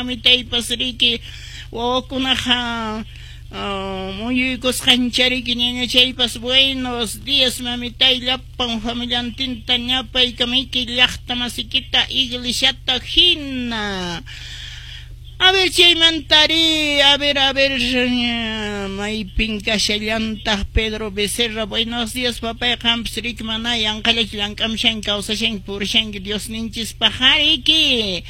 Mamitaypas riki wawakunaqa muyuykusqanchariki ñañachaypas. Buenos días, mamitay, llapan familiantinta ñapaykamiki, llaqta masikita iglesiata hina. A ver, chaymantari, a ver, a ver, maypin kashallantaq Pedro Becerra. Buenos días, papay, qampas riki mana yanqallachu llank'amushanki, kawsashanki, purishanki Diosninchispaq riki.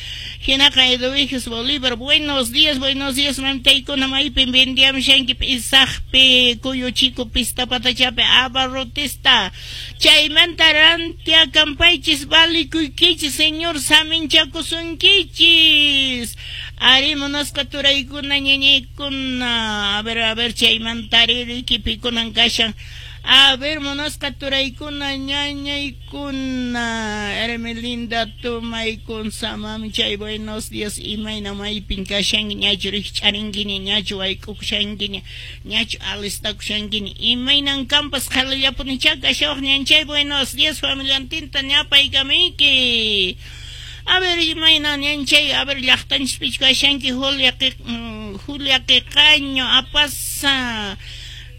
Hinaqa Eduviges Bolívar, buenos días, mamitaykuna, maypin vendiamushanki p'isaqpi, kuyuchiku pista patachapi, abarrotista. Chaymanta rantiakampaychis, valikuykichis, Señor saminchakusunkichis. Ari, munasqa turaykuna, ñañaykuna, a ver, chaymantari riki pikunan kashan. A ver, munasqa turaykuna, ñañaykuna, Hermelinda Tumaykun samamichay, buenos días, imayna maypin kashanki, ñachu rikch'arinkiña, ñachu wayk'ukushankiña, ñachu alistakushankiña, imaynan kampas qhalillapunichá kashawaq ñanchay, buenos días, familiantinta ñapaykamiyki. A ver, imayna ñanchay, a ver, llaqtanchispichu kashanki, Julia, Julia Qiqaño, apasa.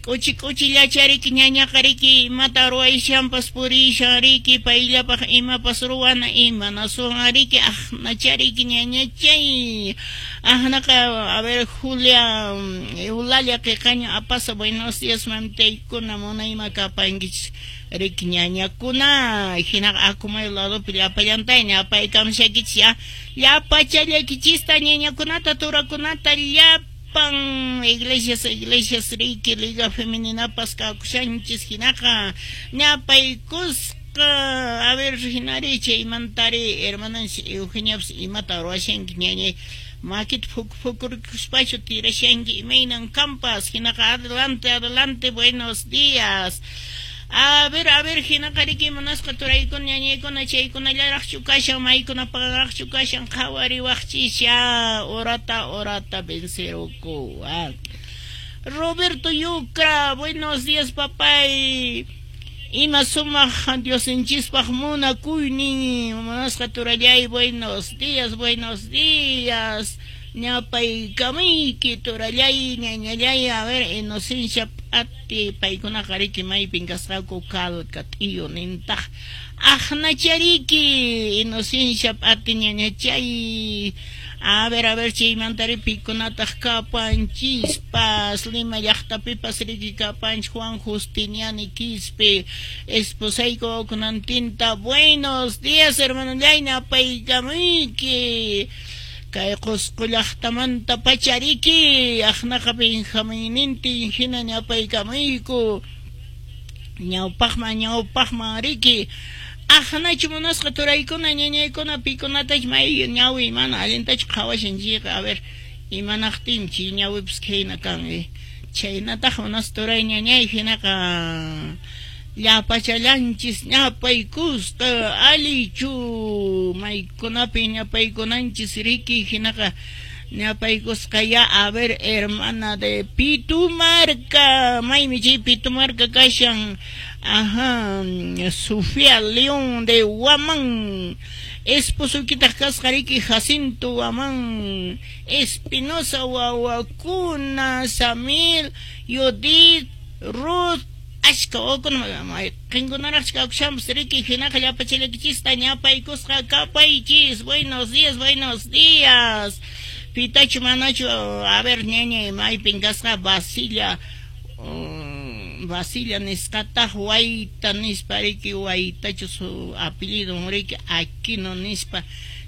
K'uchi k'uchillachariki ñañaqa riki imata ruwayshanpas purishan riki payllapaq imapas ruwana imanasunqa riki aqnachariki ñañachay aqnaqa. A ver, Julia Eulalia Qiqaño apasa, buenos días, mamitaykuna, munayma kapankichis riki ñañakuna. Hinaqa Acomayo ladopi llapallantay ñapaykamushakichis ya llapachallaykichista ñañakunata, turakunata, llapa iglesias, iglesias riki Liga Femeninapas kakushanchis. Hinaqa ñapaykusqa. A ver, hinari chaymantari hermananchis Eugeniapas, imata ruwashanki ñañay, makita phukurkuspachu tirashanki, imaynan kampas. Hinaqa adelante, adelante, buenos días. A ver, a ver, hinaqa riki munasqa turaykuna, ñañaykuna, chaykunallaraqchu kashan, maykunapaqraqchu kashan, qhawariwaqchisha, horata, horata venceruku. Roberto Yucra, buenos días, papay. Ima sumaq Diosninchispaq munakuynin, munasqa turallay, buenos días, buenos días. Ñapaykamuyki turallay, ñañallay. A ver, Inocencia P'ati, paykunaqa riki maypin kasqaku, Calca t'iyu nintaq. Aqnachariki Inocencia P'ati ñañachay. A ver, chaymantari pikunataq kapanchispas, Lima llaqtapipas riki kapanchis Juan Justiniani Quispe, esposayku kunantinta. Buenos días, hermanollay, napaykamuyki. Kay Qusqu llaqtamanta pachariki, aqnaqa Benjaminnintin hina ñapaykamuyku. Ñawpaqman, ñawpaqman riki. Aqnachu munasqa turaykuna, ñañaykuna, pikunatach may ñawi mana allintachu qhawashan chayqa, a ver, imanaqtin chay ñawipas khayna kan, Chhaynataq munasqa turay, ñañay, hinaqa llapachallanchis ñapaykusqa allichu maykunapi ñapaykunanchis riki. Hinaqa ñapaykusqa ya. A ver, hermana de Pitumarca, maymi chay Pitumarca kashan. Ajá, Sofía León de Huamán, esposoykitaq kasqa riki Jacinto Huamán Espinosa, wawakuna Samir, Yudith, Ruth, ashka wawakuna mayqinkunaraqchu kakushanpas riki. Hinaqa llapachallaykichista ñapaykusqa kapaychis. Buenos días, buenos días. Pitachu manachu, a ver, ñañay, maypin kasqa Basilla, Basilla nisqataq Wayta nispa riki, Waytachu su apellido riki, Aquino nispa,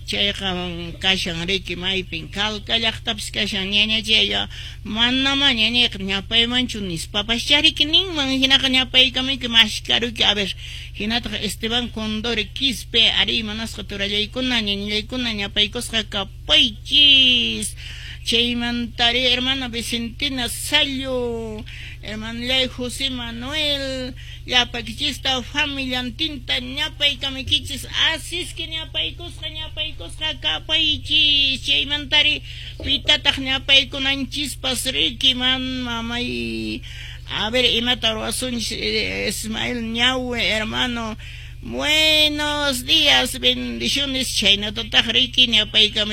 chayqa kashan riki maypin, Calca llaqtapis kashan ñañachaya, manama ñañayqa ñapaymanchu nispapaschá riki ninman. Hinaqa ñapaykamuyki, mashkaruki. A ver, hinataq Esteban Condori Quispe, ari, munasqa turallaykuna, ñañallaykuna, ñapaykusqa kapaychis. Chaymantari hermana Vicentina Sallo, hermanallay José Manuel, llapakichista familiantinta ñapaykamaykichis, así que ñapaykusqa, ñapaykusqa kapaychis. Chaymantari pitataq ñapaykunanchispas riki, man mamay, a ver, imata ruwasunchis. Ismael Ñawe, hermano, buenos días, bendiciones. Chhaynatataq riki ñapaykamay.